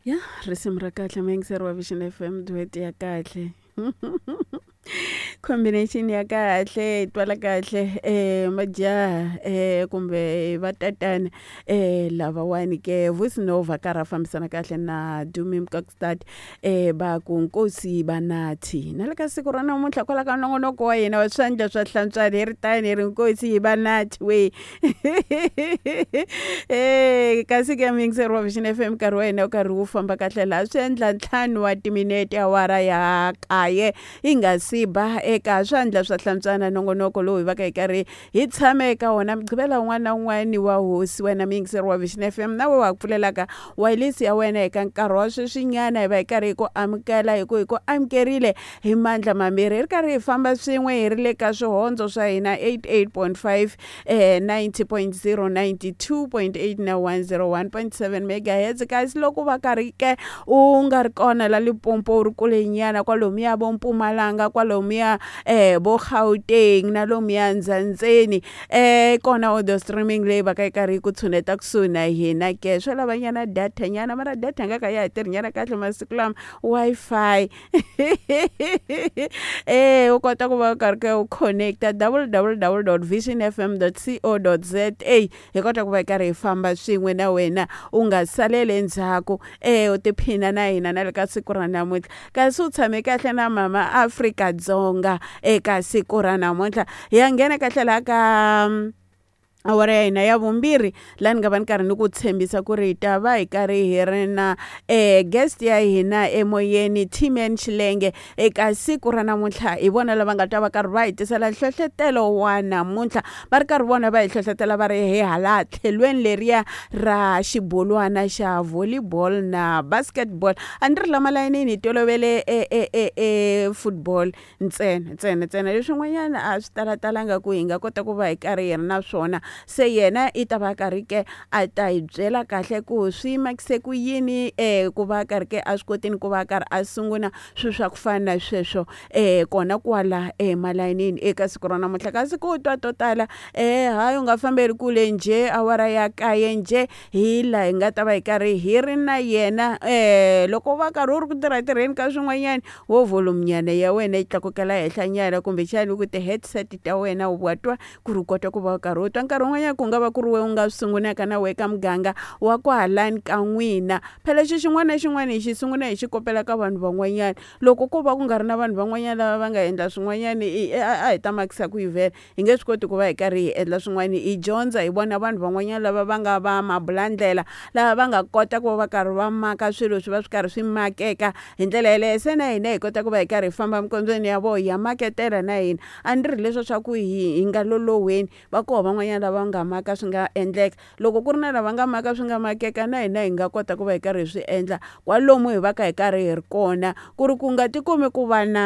Ya risimu ra kahle muyingiseri wa Vision FM duet ya kahle combination ya kahle yi twala kahle majaha kumbe vatatana lavawani ke Vusi Nova karhi a fambisana kahle na Dumi Mkokstad va ku nkosi vanathi na le ka siku ra namuntlha kwala ka nongonoko wa hina wa swandla swa hlantswana hi ri tani hi ri nkosi vanathi we kasi ke muyingiseri wa Vision FM nkarhi wa hina wu karhi wu famba kahle laha swi endla 5 wa timinete awara ya 9 yi nga si ba eka swandla swa hlantswana nongonoko lowu hi va ka hi karhi hi tshame eka wona mugqivela wun'wana na wun'wana wa hosi wena muyingiseri wa Vision FM na we wa ku pfulelaka wayilesi ya wena eka nkarhi wa sweswinyana hi va hi karhi hi ku amukela hi ku hi ku amukerile hi mandla mambirhi hi ri karhi hi famba swin'we hi ri le ka swihondzo swa hina 88.5 90.0 92.8 na 101.7 megahertz kasi loko va karhi ke u nga ri kona la Limpopo u ri kule nyana kwalomuya vo Mpumalanga kwalomuya vo Gauteng na lomuya Ndzandzeni kona audio streaming leyi va ka yi karhi yi ku tshuneta kusuhi na hina ke swo lava nyana data nyana mara data nga ka ya ha tirhi nyana kahle masiku lama Wi-Fi u kota ku va u karhi ke u connecta www.visionfm.co.za hi kota ku va hi karhi hi famba swin'we na wena u nga saleli endzhaku u tiphina na hina na le ka siku ra namuntlha kasi u tshame kahle na mama Afrika-Dzonga eka siku ra namuntlha hi ya nghena kahle laha ka awara ya hina ya vumbirhi laha ni nga va ni karhi ni ku tshembisa ku ri hi ta va hi karhi hi ri na guest ya hina emoyeni T-Man Xilenge eka siku ra namuntlha hi vona lava nga ta va karhi va hi tisela nhlohlotelo wa namuntlha va ri karhi vona va hi hlohlotela va ri hi hala tlhelweni leriya ra xibolwana xa volleyball na basketball a ni ri la malayinini hi tolovele football ntsena ntsena ntsena leswin'wanyana a swi talatalanga ku hi nga kota ku va hi karhi hi ri na swona se yena i ta va karhi ke a ta hi byela kahle ku swi makise ku yini ku va karhi ke a swi kotini ku va karhi a sungula swilo swa ku fana na sweswo kona kwala emalayinini eka siku ra namuntlha kasi ku twa to tala hayi u nga fambeli kule njhe awara ya 9 njhe hi laha hi nga ta va hi karhi hi ri na yena loko va karhi u ri ku tirha tirheni ka swin'wanyana wo volume nyana ya wena yi tlakukela henhla nyana kumbexani ku ti-headset ta wena wa twa ku ri u kota ku va u karhi u twa nkarhi wun'wanyana ku nga va ku ri we u nga swi sungulaka na we ka muganga wa kwahalani ka n'wina phela xi xin'wana na xin'wana hi xi sungula hi xi kopela ka vanhu van'wanyana loko ko va ku nga ri na vanhu van'wanyana lava va nga endla swin'wanyana a hi ta makisa ku yi vhela hi nge swi koti ku va hi karhi hi endla swin'wana hi dyondza hi vona vanhu van'wanyana lava va nga va mabulandlela lava va nga kota ku va va karhi va maka swilo swi va swi karhi swi makeka hi ndlela yeleyo se na hina hi kota ku va hi karhi hi famba minkondzweni ya vona ya maketela na hina a ni ri leswo swa ku hi nga loloweni va koho van'wanyana lava nga maka swi nga endleka loko ku ri na lava nga maka swi nga makeka na hina hi nga kota ku va hi karhi hi swi endla kwalomu hi va ka hi karhi hi ri kona ku ri ku nga tikumi ku va na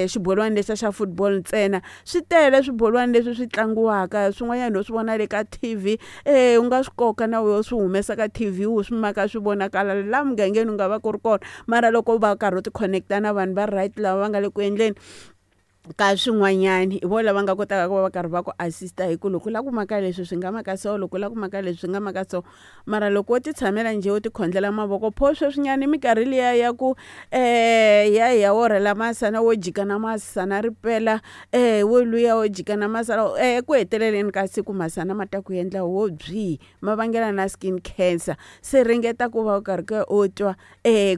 xibolwana lexiya xa football ntsena swi tele swibolwana leswi swi tlangiwaka swin'wanyana ho swi vona le ka TV u nga swi koka na wehe u swi humesa ka TV u swi maka swi vonakala laha mugangeni u nga va ku ri kona mara loko u va karhi u ti connect-a na vanhu va right lava va nga le ku endleni ka swin'wanyana hi vona lava nga kotaka ku va va karhi va ku assist-a hi ku loko u lava ku maka leswi swi nga maka so loko u lava ku maka leswi swi nga maka so mara loko wo ti tshamela njhe u ti khondlela mavoko pho sweswinyana i minkarhi liya ya ku ya hi ya orhela masana wo jika na masana ri pela wo luya wo jika na masana eku heteleleni ka siku masana ma ta ku endla wo byi ma vangela na skin cancer se ringeta ku va u karhi ke u twa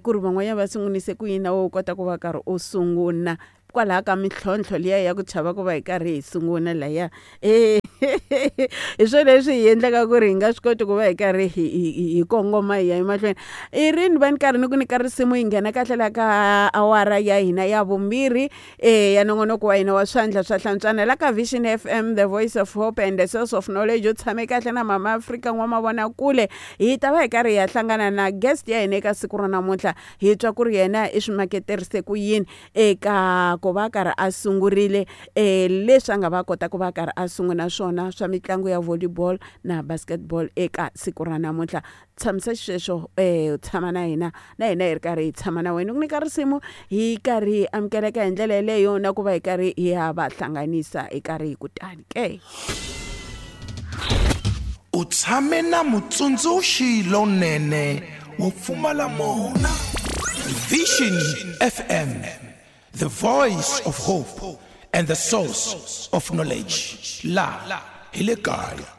ku ri van'wanyana va sungulise ku yini na wehe u kota ku va karhi u sungula kwalaho ka mintlhontlho liya ya ku chava ku va hi karhi hi sungula laya hi swona leswi hi endlaka ku ri hi nga swi koti ku va hi karhi hi kongoma hi ya emahlweni i rini va ni karhi ni ku nyika risimu hi nghena kahle la ka awara ya hina ya vumbirhi ya nongonoko wa hina wa swandla swa hlantswana la ka Vision FM the voice of hope and the source of knowledge u tshame kahle na mama Afrika n'wamavonakule hi ta va hi karhi hi ya hlangana na guest ya hina eka siku ra namuntlha hi twa ku ri yena i swi maketerise ku yini eka ku va karhi a sungurile leswi a nga va kota ku va karhi a sungula swona swa mitlangu ya volleyball na basketball eka siku ra namuntlha tshamisa xisweswo tshama na hina na hina hi ri karhi hi tshama na wena ku nyika risimu hi karhi hi amukeleka hi ndlela yeleyo na ku va hi karhi hi ya va hlanganisa hi karhi hi kutani ke u tshame na mutsundzuxi lonene Wo pfumala mona. Vision FM, the voice of hope and the source of knowledge. La hi le kaya.